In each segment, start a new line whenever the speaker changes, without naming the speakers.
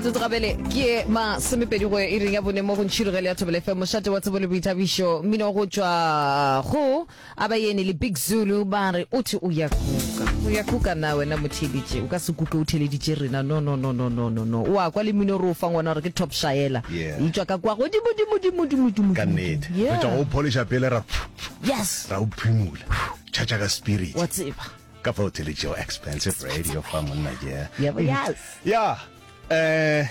Metsotso gabele ke ye masomepedi go iring ya bone mo go Ntšhirogelo ya Thobela FM, mošate wa tsebo le boithabišo. Mmino go tšwa go Abayeni le Big Zulu ba re o thwe o ya kuka. O ya kuka na wena motheeletše? O ka se kuke o theeleditše rena. No, no, no, no, no, no, no. O a kwa le mmino re o fang wona gore ke Top Shaela.
Yeah.
E tšwa ka kwa godimo, dimo, dimo, dimo, dimo,
Ka
dimo,
nnete.
dimo.
Re tšwa
Yeah.
go polisha pele ra
Yes.
ra o phimola. Tšhatša ka spirit.
Wa tseba.
Ka fao theletšego expensive radio fa monna yeah.
Yeah, yes.
Ya eh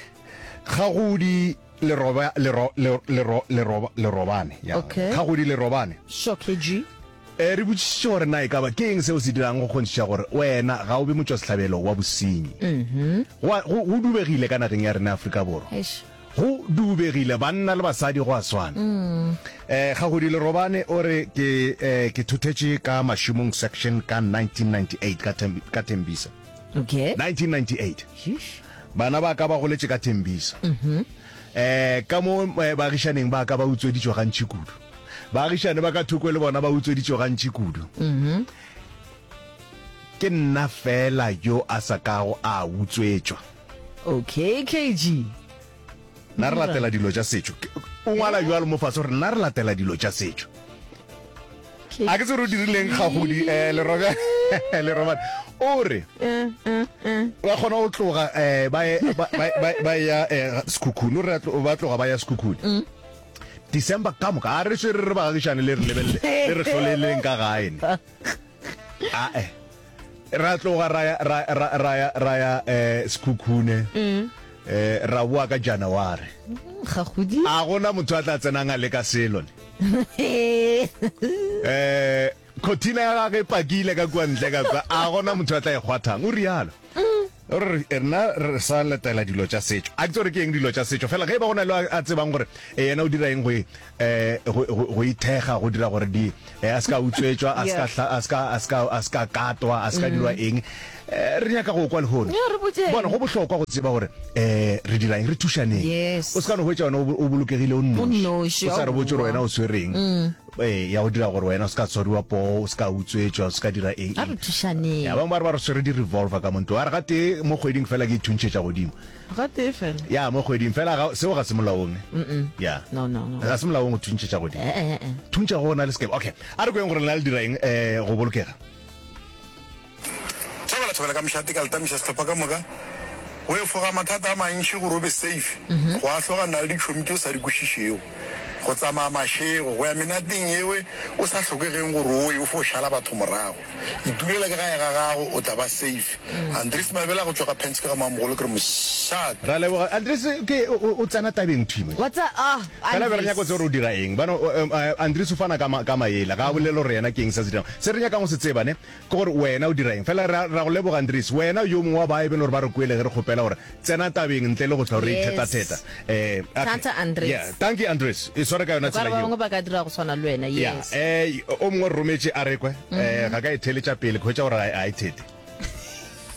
Kgagodi Leroba lero lero lero lero Lerobane ya.
Okay.
Kgagodi Lerobane.
Sure KG.
Eh re botšišitše gore na e ka ba ke eng seo se dirang go kgonthiša gore wena ga o be motšwasehlabelo wa bosenyi.
Mhm.
Go a- go go dubegile ka nageng ya rena ya Afrika Borwa.
Eish.
Go dubegile banna le basadi go a swana. Mm. Eh Kgagodi Lerobane o re ke eh ke thothetše ka Mašomong section ka 1998 ka Tem, ka Tembisa.
Okay.
1998.
Sheesh.
Bana ba ka ba goletše ka Tembisa. Mm Eh ka mo eh, baagišaneng ba ka ba utsweditšwe gantši kudu. Baagišane ba ka thoko le bona ba utsweditšwe gantši kudu.
Mm
Ke nna fela yo a sa kago a utswetšwa.
Okay KG.
Nna re latela dilo tša setšo. O ngwala bjalo mo fase gore nna re latela dilo tša setšo. A ke tsere o dirileng gagodi eh leroba lerobane. O re
eh, eh, eh.
ba kgona go tloga eh ba ba ba ya eh Sekhukhune o re ba tloga ba ya Sekhukhune.
Mm.
December ka moka a re swere re baagišane le re lebelele le re hloleleng ka gae ne. Ae. Ra tloga ra ya ra ra ra ya ra ya eh Sekhukhune.
Mm.
Eh ra boa ka January.
Ga godi.
A gona motho a tla tsenang a leka selo ne. Eh Khothina ya gagwe e pakile ka kua ntle ka kwa. A gona motho a tla e kgwathang. O rialo. O re rena re sa latela dilo tša setšo. A ke tsebe gore ke eng dilo tša setšo. Fela ge e ba go na le a tsebang gore eh, yena o dira eng go e, eh, go, go, go ithekga, go dira gore di, eh, a se ka utswetšwa, a se ka hla, a se ka, a se ka, a se ka katwa, a se ka dirwa eng. Eh, re nyaka go kwa lehono.
Yeah, re botšeng.
Bona, go bohlokwa go tseba gore eh, re dira eng, re thušaneng.
Yes.
O se ka no hwetša wena o o bolokegile o
O
nnoši.
nnoši,
O sa re botše gore
aowa.
wena o swereng. Ee, ya go dira gore wena o se ka tshwariwa poo, o se ka utswetšwa, o se ka dira eng
A re
eng.
thušaneng.
Ya, bangwe ba re ba re swere di-revolver ka mo ntlong. A re gatee mo kgweding fela ke ithuntšhetša godimo.
Gatee fela?
Ya, mo kgweding fela ga, seo ga se molaong ne. Ya.
No, no, no.
Ga se molaong go thuntšhetša godimo.
Eh, eh, eh.
Thuntšha go na le sekebe. Okay, a re kweng gore lena le dira eng um go bolokega.
Thobela thobela ka mošate ka letamiša sehlopha ka moka. Go efoga mathata a mantši gore o be safe, go ahlogana le ditšhomi tše o sa di kwešišego, go tsamaya mašego, go ya menateng yewe o sa hlokegeng gore o ye, o fo šala batho morago. Itulela ka gae ga gago, o tla ba safe. Andries Mabela go tšwa ga Pence ka ga Mamogolo ke re mošate.
Ra leboga. Andries ke o tsena tabeng thwi mo.
Wa tsa ah
Fela be re nyaka go tseba gore o dira eng. Bano Andries o fana ka ka maele, ga a bolele gore yena ke eng se a se dirang. Se re nyakang go se tseba ne ke gore wena o dira eng. Fela ra ra go leboga Andries, wena o yo mongwe wa ba e beng gore ba re kwele ge re kgopela gore tsena tabeng ntle le go hlwa re ithetatheta.
Yes.
Eh, okay.
Thata Andries.
Yeah, thank you Andries. E sware ka yona
O ka re
tsela
ba
yeo.
bangwe ba ka dira go swana le wena.
Yeah,
Yes.
eh o mongwe o re rometše a re kwe, eh ga ka e theletša pele ke hwetša gore ga e thete.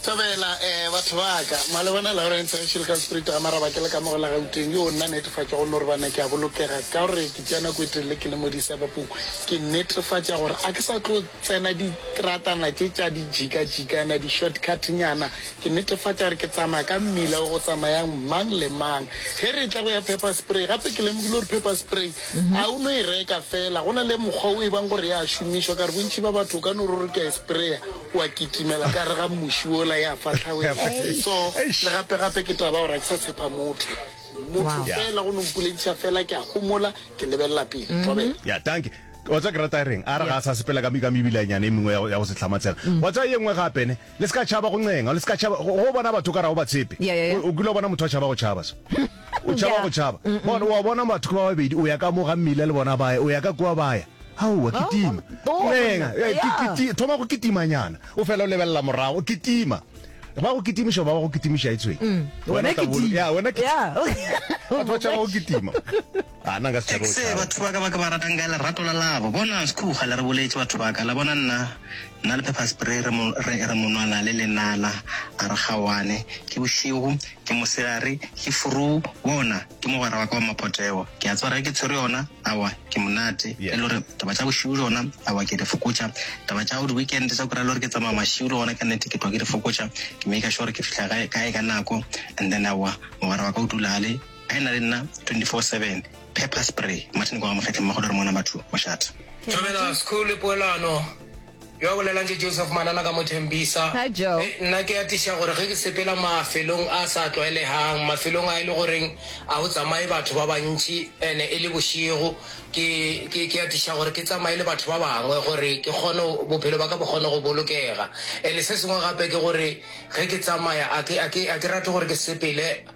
Thobela eh batho ba ka. Malebana Lawrence Gešo le ka Spirit ga Maraba ke le ka mo go la Gauteng yo nna netefatša go no re bana ke a bolokega ka gore ke tšea nako e telele ke le mo disabapong ke netefatša gore a ke sa tlo tsena ditratana tše tša dijikajikana di shortcut nyana ke netefatša gore ke tsamaya ka mmila o go tsamayang mang le mang ge re etla go ya pepper spray gape ke lemogile gore pepper spray a o no e reka fela go na le mokgwa o e bang gore ya šomišwa ka re bontši ba batho o ka no re o re ke a e sprayer wa kitimela ka gare ga muši wola ya fahlawela. So, le gape gape ke taba gore ga ke sa tshepa motho. Motho fela go no mpolediša fela ke a homola, ke lebelela pele. Thobela.
Ya, dankie. Wa tseba ke rata e reng? A re ga a sa sepela ka ka mebilanyana e mengwe ya go ya go se hlamatsega. Wa tseba ye nngwe gape ne, le se ka tšhaba go ncenga, le se ka tšhaba go go bona batho o ka re ga o ba tshepe.
Ya, ya, ya.
O o kile wa bona motho a tšhaba go tšhaba so. O tšhaba
Ya.
go tšhaba. Bona, wa bona batho ke ba babedi, o ya ka mo ga mmila le bona ba ya, o ya ka kua ba ya. Aowa, kitima. Ncenga, eh, ki- kiti- thoma go kitimanyana. O fela o lebelela morago, kitima. Ba go kitimiša ba ba go kitimiša e tshweng.
Wena
o tla bolo-
kitima.
Ya, wena kitima.
Ya.
Batho ba tšhaba go kitima. A nna nka se tšhabe go
Ekse
tšhaba.
batho ba ka ba ke ba ratang ka lerato la labo. Bona Sekhuga le re boletše batho ba ka. La bona nna, nna le Pepper Spray re mo, re, re monwana le lenala, a re kgaoane. Ke bošego, ke mosegare, ke furu, bona, ke mogwera wa ka wa mapoteo. Ke a tseba ge ke tshwere yona, aowa, ke monate. E le gore taba tša bošego tšona, aowa, ke di fokotša. Taba tša go di-weekend tša go kry-a le gore ke tsamaya mašego le gona ka nnete ke tloga ke di fokotša. Ke maker sure gore ke fihla gae, gae ka nako and then aowa, mogwera wa ka o dula a le. A e na le nna 24/7. Pepper spray. Martin kwa ga Mokgetle mmago le re mona batho mošate.
Thobela School le Poelano. Yo a bolelang ke Joseph Manana ka mo Thembisa.
Hi Joe.
Hei, nna ke atiša gore ge ke sepela mafelong a sa tlwaelegang, mafelong a e le goreng a go tsamaye batho ba bantši ene e le bošego, ke, ke, ke atiša gore ke tsamaye le batho ba bangwe gore ke kgone, bophelo ba ka bo kgone go bolokega. Ene se sengwe gape ke gore ge ke tsamaya a ke, a ke, a ke rate gore ke sepele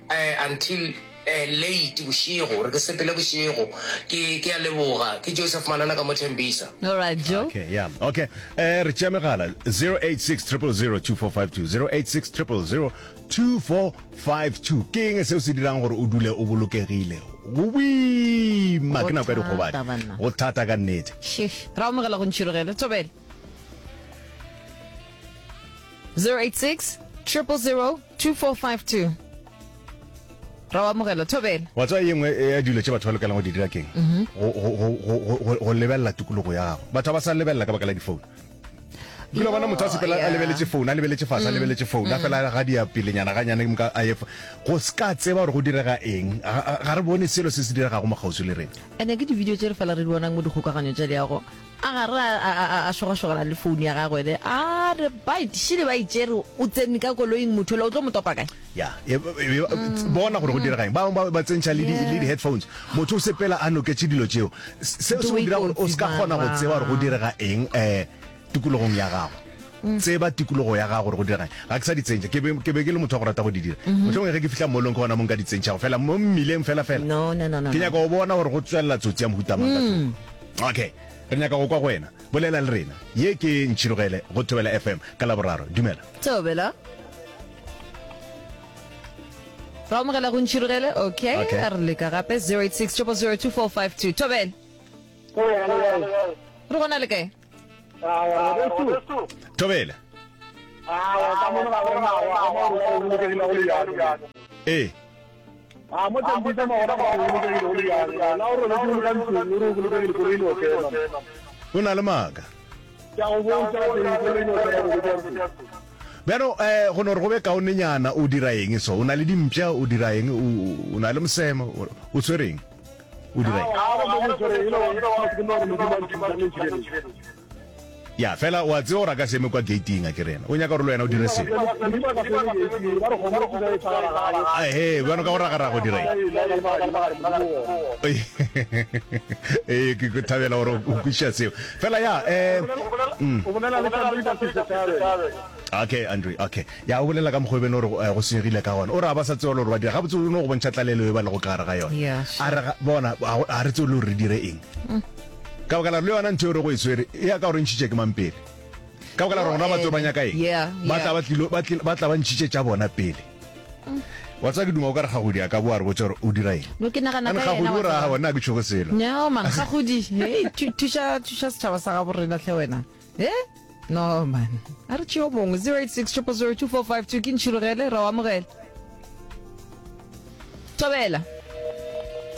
Until late bošego, gore ke sepele bošego. Ke, ke a leboga. Ke Joseph Manana ka mo Tembisa.
All right, Joe.
Okay, yeah. Okay. Eh, re tšea megala 086 000 2452 086 000 2452. Ke eng seo se dirang gore o dule o bolokegile? Go boima ke nako ya dikgobadi. Go thata ka nnete.
Shish. Ra amogela go ntšhirogele. Thobela. 086 000 2452 ra o amogela thobela
wa tseba ye nngwe ya dilo tše batho ba lokelang go di dira keng mhm. go lebelela tikologo ya gago batho ba sa lebelela ka baka la difounu kile bona motho a sepela a lebeletše phone a lebeletše fase a mm. lebeletše phone a mm. fela ga di ya pelenyana ga nyane ka a go se ka tseba gore go direga eng ga re bone selo se se diregago mo kgauswi le rena
ene ke di-video tše re fela re di bonang mo dikgokaganyo tša diago A ga re a, a, a šogašogana le founu ya gagwe le a re ba šele ba itšere o tsene ka koloing motho ola o tlo mo topa kae?
Ya, e, e, e, bona gore go direga eng. Ba bangwe ba tsentšha le di, le di-headphones. Motho o sepela a noketše dilo tšeo. Seo se go dira gore o se ka kgona go tseba gore go direga eng um tikologong ya gago. Tseba tikologo ya gago gore go direga eng. Ga ke sa di tsentšha. Ke be, ke be ke le motho wa go rata go di dira. Mohlomongwe ge ke fihla mallong ke gona mo nka di tsentšhago. Fela mo mmileng fela fela.
No, no, no, no,
Ke
no.
nyaka go bona gore go tswelela tsotsi ya mohuta mang ka thoko. Okay. Re nyaka go kwa go wena. Bolela le rena. Ye ke Ntšhirogele go Thobela FM ka Laboraro. Dumela.
Thobela. Ra amogela go Ntšhirogele. Okay.
Okay.
A re leka gape 086 000 2452. Thobela. Re gona le kae?
Thobela. Ee.
A mo Tembisa magora ba go bolokegile go le bjalo. La o robetše o le ka ntlong o re o bolokegile koloi e no tsena.
O na le maaka.
Ke a go bontšha ka teng koloi e no tsena o robetše ka ntlong.
Bjano eh go no re go be kaonenyana o dira eng so? O na le dimpša o dira eng? O na le mosemo o tshwere eng? O dira eng?
Ga gona mo ke tshwere e no ba ke no re Modimo a nthusa le ntšhireletše.
Ya, fela o a tseba gore a ka se eme kwa gate-ing, a ke re yena o nyaka gore le wena o dire selo. Ehe, bjano ka go ragaraga o dira eng? Ee, ke ke thabela gore o kwešiša seo. Fela ya, eh, mm. Okay, Andre, okay. Ya, o bolela ka mokgwa o beno gore eh, go senyegile ka gona. O re a ba sa tseba le gore ba dira. Gabotse o no go bontšha tlalelo e ba lego ka gare ga yona.
Yeah,
A re, ga- bona, a go- a re tsebe le gore re dire eng. Ka baka la gore le yona ntho eo re go e swere e ya ka gore ntšhitše ke mang pele. Ka baka la gore gona batho ba nyaka eng? Ba tla ba tlilo ba tlilo ba tla ba ntšhitše tša bona pele. Wa tseba ke duma o ka re Gagodi a ka boa a re botša gore o dira eng.
No ke nagana ka yena
Gagodi o ra aowa nna ga ke tšhoge selo.
No man Gagodi hey thuša thuša setšhaba sa gabo rena hle wena. He? No man. A re tšeo mongwe 086 000 2452 ke ntšhirogele ra o amogela. Thobela.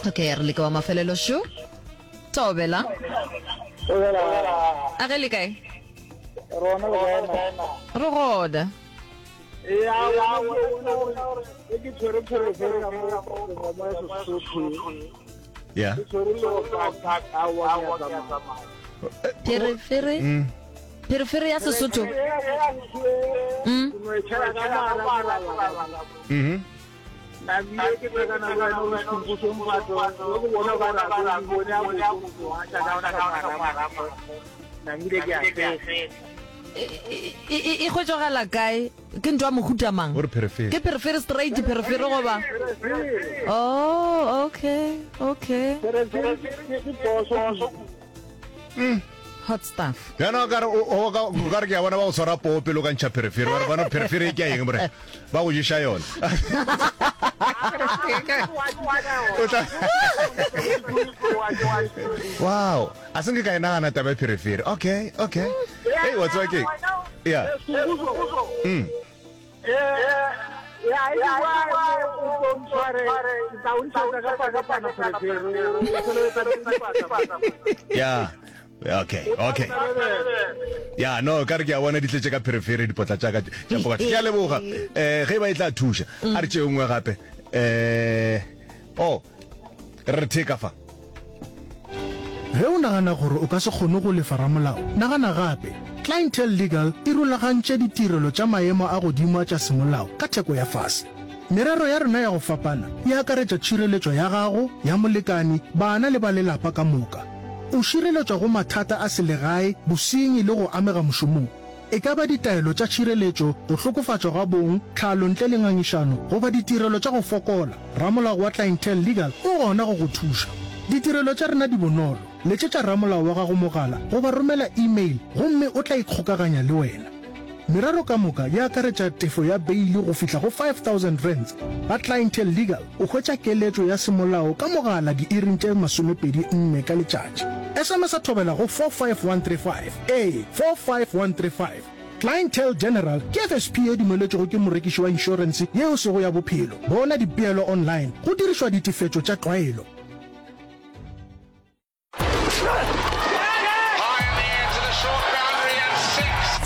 Okay, re leka wa mafelelo šo. Thobela.
Thobela.
A ge le kae?
Rona le kae ma?
Re gona.
Ya bona gore ke tshwere pherefere ka mo mo ya Sesotho.
Ya.
Ke tshwere le go ka ka wa ke ya tsamaya.
Pherefere? Mm. Pherefere ya Sesotho.
Mm. Ke no e tshela ka mara.
Mhm.
Nabile ke tlhakana le wena o sekhumpo mpato le go bona ba ra go bone a go a tla ka ona ka marama nabile ke a fetsa
e e hwetšagala kae ke ntho ya mohuta mang
O re pherefere.
ke pherefere straight pherefere goba oh okay okay
Pherefere ke ke poso
Hot stuff.
Bjana o ka re o ka o ka re ke a bona ba go tshwara poo pele o ka ntšha pherefere ba re bona pherefere e ke ya eng more ba go ješa yona. O tla Wow, a se nke ka e nagana taba ya pherefere. Okay, okay. Hey, wa tseba ke? Yeah. Mm. Yeah. Okay, okay. Ya, no, ka re ke a bona di tletše ka pherefere dipotla tša ka tša pocket. Ke a leboga. Eh, ge e ba e tla thuša. A re tšee nngwe gape. Eh, oh, re theka fa.
Ge o nagana gore o ka se kgone go lefa ramolao, nagana gape. Clientele Legal e rulagantše ditirelo tša maemo a godimo a tša semolao ka theko ya fase. Merero ya rena ya go fapana e akaretša tšhireletšo ya gago, ya molekani, bana le ba lelapa ka moka. O šireletšwa go mathata a selegae, bosenyi le go amega mošomong. E ka ba ditaelo tša tšhireletšo, go hlokofatšwa ga bong, tlhalo ntle le ngangišano, goba ditirelo tša go fokola, ramolao wa Clientele Legal o gona go go thuša. Ditirelo tša rena di bonolo, letšetša ramolao wa gago mogala goba romela e-mail gomme o tla ikgokaganya le wena. Merero ka moka e akaretša tefo ya beili go fihla go R5000. Ga Clientele Legal o hwetša keletšo ya semolao ka mogala diiring tše 24 ka letšatši. SMS-a thobela go 45135. Ee, 45135. Clientele General ke FSP ye dumeletšwego ke morekiši wa inšorense ye e sego ya bophelo. Bona dipeelo online go dirišwa ditefetšo tša tlwaelo.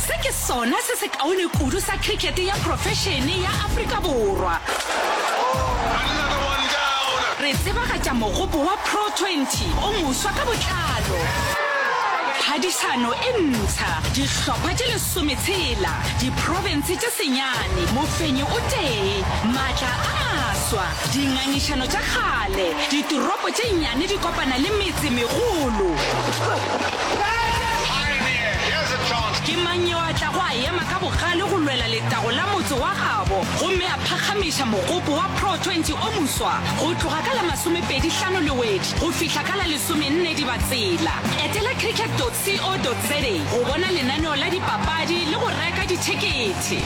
Se ke sona se sekaone kudu sa khrikete ya profešene ya Afrika Borwa. Re tsebagatša mogopo wa Pro 20 o moswa ka botlalo. Phadišano e ntsha, dihlopha tše lesometshela, diprofense tše senyane, mofenyi o tee, maatla a maswa, dingangišano tša kgale, ditoropo tše nnyane di kopana le metse megolo. Ke mang yo a tlago a ema ka bogale go lwela letago la motse wa gabo gomme a phakgamiša mogopo wa Pro 20 o moswa go tloga ka la masomepedi hlano Lewedi go fihla ka la lesomenne Dibatsela? Etela cricket.co.za go bona lenaneo la dipapadi le go reka dithekethe.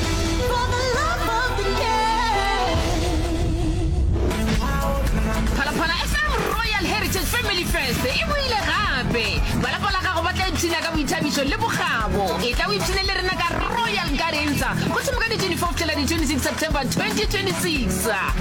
Phalaphala FM Royal Heritage Family Fest e boile gape. Ba lapa la gago ba tla ipshina ka boithabišo le bokgabo. Etla o ipshine le rena ka Royal Gardens go thoma ka di 24 go fihlela di 26 September 2026.